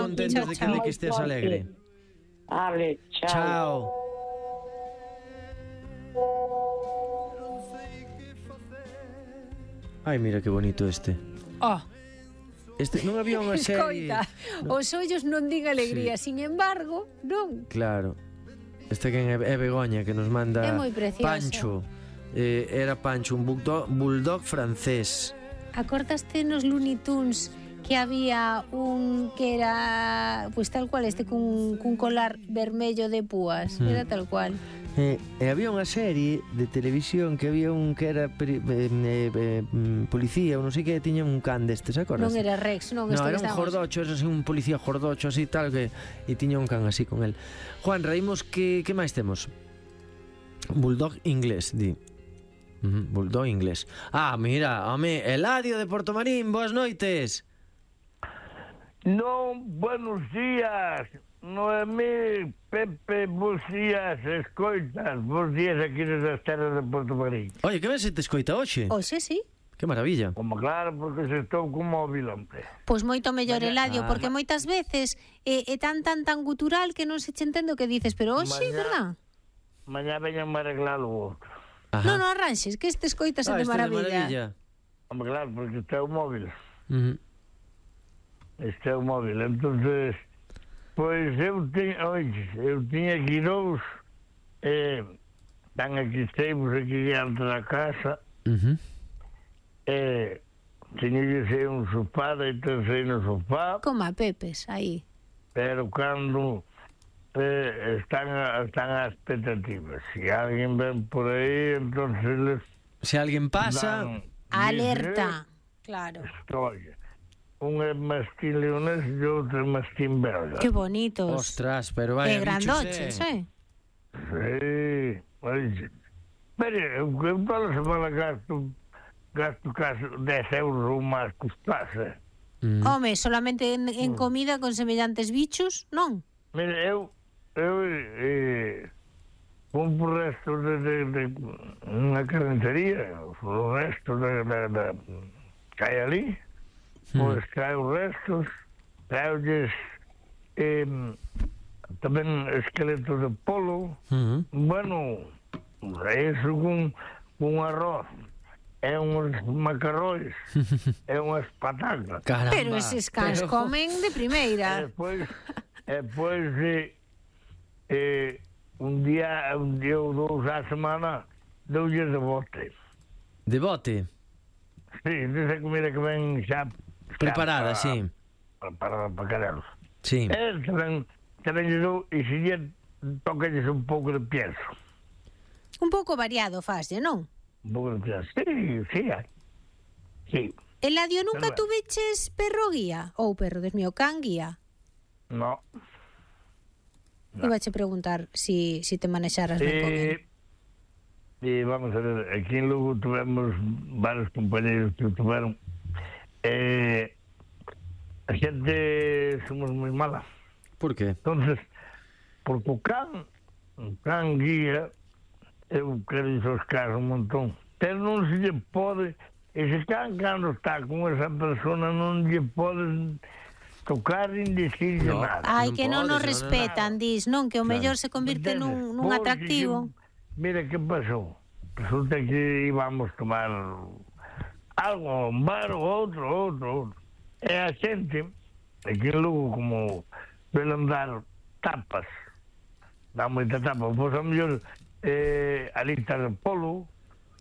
contentos de que estés alegre. Vale, chao. Ai, mira que bonito este. Non había unha serie. Escoita, os ollos non din alegría, sin embargo, non. Claro. Este que é Begoña, que nos manda É moi precioso. Pancho. Era Pancho, un bulldog francés. Acordaste nos Looney Tunes que había un que era pues tal cual este cun colar vermello de púas, era tal cual. E había unha serie de televisión que había un que era policía ou non sei que, tiña un can destes, acordas? Non era Rex, non, No, este era un jordocho, era así, un policía jordocho así tal que e tiña un can así con el. Juan, reímos que máis temos? Bulldog inglés, di. Bulldog inglés. Mira, home, Eladio de Portomarín, boas noites. Non, buenos días, Noemí, Pepe, bons días, escoitas, bons días aquí nas terras de Portomarín. Oye, que ben se te escoita hoxe? Hoxe sí. Que maravilla. Como claro, porque se estou con móvil, hombre. Pois moito mellor, Eladio, porque moitas veces é tan gutural que non se che entende o que dices, pero hoxe, verdad? Mañá veñan a arreglar o outro. Non arranxes, que este escoitase de maravilla. Hombre, claro, porque este é o móvil. Este é o móvil, entonces pois eu tiña aquí dous están aquí teimos aquí diante da casa tiña un sofá e tercei no sofá como a Pepes, aí pero cando están as expectativas se alguén ven por aí entonces se alguén pasa alerta, claro. Estoy. Un é mastín leonés e outro é mastín belga. Que bonitos. Ostras, pero vai, grandoches, Sí. Mire, eu toda a semana gasto casi 10 euros ou máis custase. Home, solamente en comida con semellantes bichos, non? Mire, eu compro restos de unha carnicería, os restos de que hai ali. Pois traio restos, traio-lles tamén esqueletos de polo. Bueno, eso con arroz, é uns macarróis, é unhas patacas. Caramba. Pero eses cans comen de primeira. E depois un día ou dous á semana doulles de bote. De bote? Sí, desa comida que ven xa preparada, sí. Para carelos. Sí. Tamén lle dou e se lle toca-lles un pouco de pienso. Un pouco variado faslle, non? Un pouco de pienso. Sí. Eladio, nunca tuveches perro guía? Ou perro, Dios mío, can guía? No. Ibache preguntar si te manexaras ben con él. Vamos a ver, aquí en Lugo tuvemos varios compañeros que tuveron a xente somos moi mala. Por qué? Entonces, porque o can guía, eu quero os cans un montón, pero non se lle pode, ese can cando está con esa persona non lle pode tocar nin dicirlle nada. Ai, que non nos respetan, dis, non? Que o mellor se convirte nun atractivo. Mira, que pasou? Resulta que íbamos tomar algo a un bar ou outro. E a xente, aquí en Lugo, como suelen dar tapas, dá moita tapa, pois a mellor alitas de polo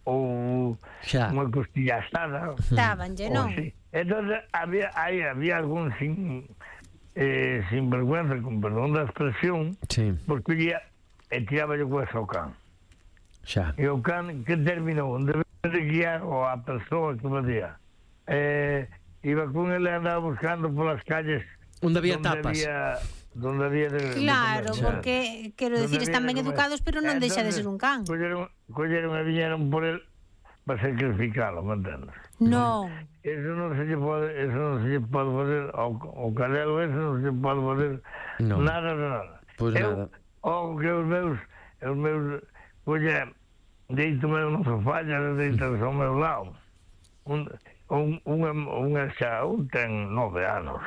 ou unha costilla asada. Dábanlle, non? Entón, había algún sin vergüenza, con perdón da expresión, porque e tiraba yo coa ao can. E o can que terminou de guiar a persoa que facía iba con ele e andaba buscando polas calles onde había tapas donde había claro, porque quero dicir, están ben educados, pero non deixa de ser un can. Colleron e viñeron por el para sacrificalo, me entendes? Non. Eso non se lle pode fazer ao cadelo, eso non se pode fazer nada. Pois nada. O que os meus colle deito meu no sofá e deitas ao meu lado. Un ten 9 anos.